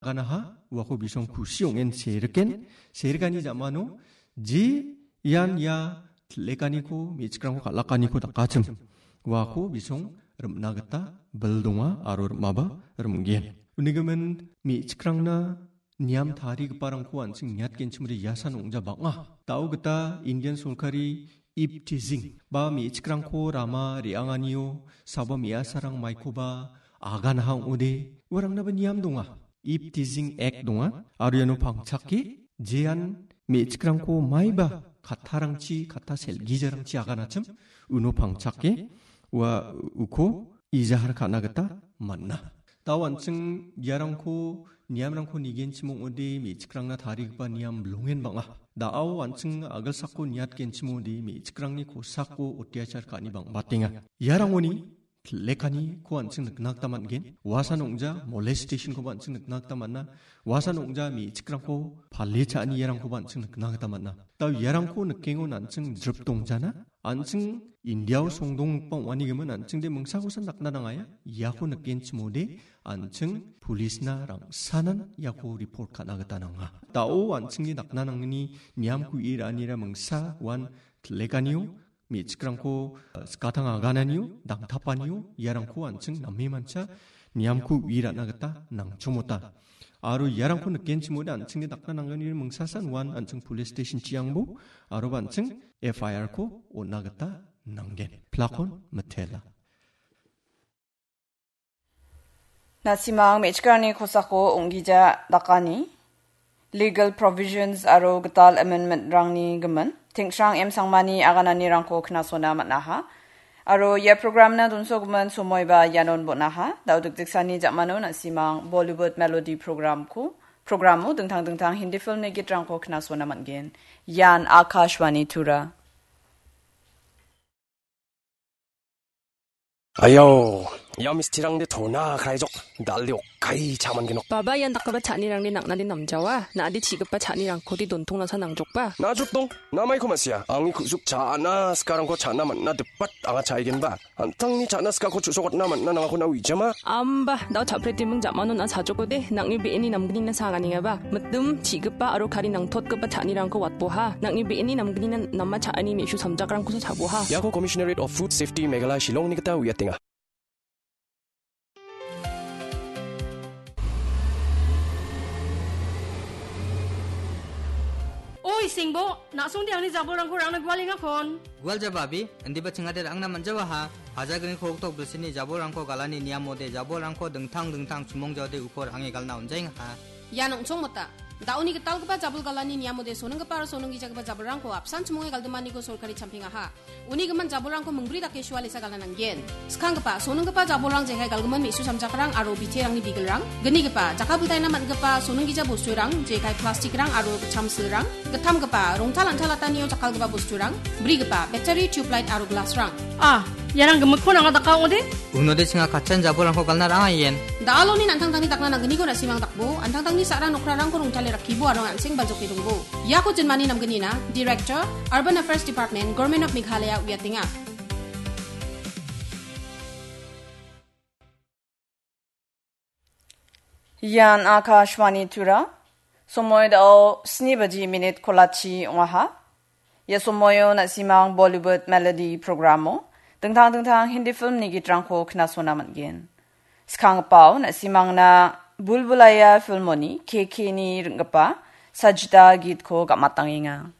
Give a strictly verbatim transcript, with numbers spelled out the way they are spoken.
aganaha, uako bisong kusi ong·en seriken, serikani ja·mano, je ian ia til·ekaniko, me·chikrangko kal·akaniko dakachim, uako bisong rim·na gita bil donga aro rim·aba rim·gen. Unigimin me·chikrangna niam tarigiparangko an·ching niatgenchimode iasan ong·ja bang·a. Da·o gita Indian sorkari eve teasing ba me·chikrangko rama re·anganio saba me·asarang maikoba aganaha ong·ode, uarangnaba niam donga. Eve teasing act donga, aro iano pangchake jean me·chikrangko maiba kattarangchi, katta selgijarangchi aganachim, uno pangchake ua uko ijahar ka·na gita man·a. Da·o an·ching iarangko, niamrangko nigenchim ong·ode, me·chikrangna tarigipa niam bilongen bang·a. Da·o an·ching agilsako niatgenchim ong·ode, me·chikrangni kosako otiachar ka·ani bang·batenga. Iarangoni til·ekaniko an·ching nikna gita man·gen. Uasan ong·ja molestationkoba an·ching nikna gita man·a. Uasan ong·ja me·chikrangko pale cha·ani iarangkoba an·ching nikna gita man·a. Da·o iarangko nikengon an·ching drip dongjana. An·ching Indiao songdonggipa ong·anigimin an·chingde mingsakosan dakna nangaia. Iako nikenchimode an·ching policena rangsanan iako report ka·na gita nanga. Da·o an·chingni dakna nangni niamko i ra·anira mingsa uan til·ekanio, me·chikrangko, eh, skatang agananio, dangtapanio, iarangko an·ching name mancha niamko uiratna gita nangchomota. Aro iarangko nikenchimode an·chingni dakna nangani mingsasan uan an·ching police station chiangbo, aroba an·ching F I R ko on·na gita nanggen. Plakon mitela. Na·simang me·chikrangni kosako ong·gija dakani, legal provisions aro gital amendment-rangni gimin, Tingsrang M Sangmani agananirangko knasona man·aha. Aro ia program-na donsogimin somoiba ianon bon·aha. Da·o dikdiksani ja·mano na·simang Bollywood Melody program-ko, program-o dingtang dingtang Hindi film-ni gitrangko knasona man·gen. Ian Akashvani Tura. Ayo, ia mistirangde tona kraijok, dal·de okkai cha·mangenok. Baba, ian dakgipa cha·anirangde nang·nade namjawa, na·ade chi·gipa cha·nirangkode dontongnasa nangjokba. Na·jrok dong, na·maiko ma·sia, angni ku·suk cha·na sikarangko cha·na man·na dipat anga cha·aigenba. An·tangni cha·na sikako chu·sokatna man·na nangako na uijama. Amba, da·o cha·pretiming ja·mano na·a chajokode, nang·ni be·eni namgnina sanganengaba. Mitim, chi·gipa aro kari nangtotgipa cha·anirangko watboha. Nang·ni be·eni namgnina nama cha·ani me·su samjakrangkosa cha·boha. Iako Commissionerate of Food Safety Meghalaya Shillongni gita uiatenga. Oi, Singbo, na·songde angni jabolrangko rangna gualengakon. Gualjaba abi, indiba chingade rangna man·jawaha. Hajagriko hoktok bilsini jabolrangko galani niamode jabolrangko dingtang dingtang chumongjaode uko range galna on·jaengaha. Ian ong·chongmota. Da·oni gitalgipa jabol galani niamode sonenggipa aro sonenggijagipa jabolrangko apsan chimonge galdimaniko sorkari champingaha. Uni gimin jabolrangko mingbri dake sualesa galna nanggen. Skanggipa, sonenggipa jabolrang jekai galgimin me·su samjakrang aro biterangni bigilrang. Gnigipa, jakkalbiltaina man·gipa sonenggija bosturang, jekai plastikrang aro chamsilrang. Gittamgipa, rongtal antalattanio jakkalgipa bosturang. Brigipa, battery, tubelight aro glassrang. Ah, iarang gimikkon anga daka ong·ode? Unode chinga katchan jabolrangko galna rang·a ien. Da·aloni an·tangtangni dakna nanggniko na·simang dakbo, an·tangtangni sa·ra nokrarangko rongtale rakkibo aro an·seng baljoke dongbo. Iako jinmani namgnina, Director, Urban Affairs Department, Government of Meghalaya uiatenga. Ian Akashvani Tura. Somoi da·o sni baji minit kolachi ong·aha. Ia somoio na·simang Bollywood Melody programo dingtang dingtang Hindi filmni gitrangko knasona man·gen. Skanggipao na·simangna Bulbulaiya filmoni K K ni ring·gipa Sajda gitko gam·atangenga.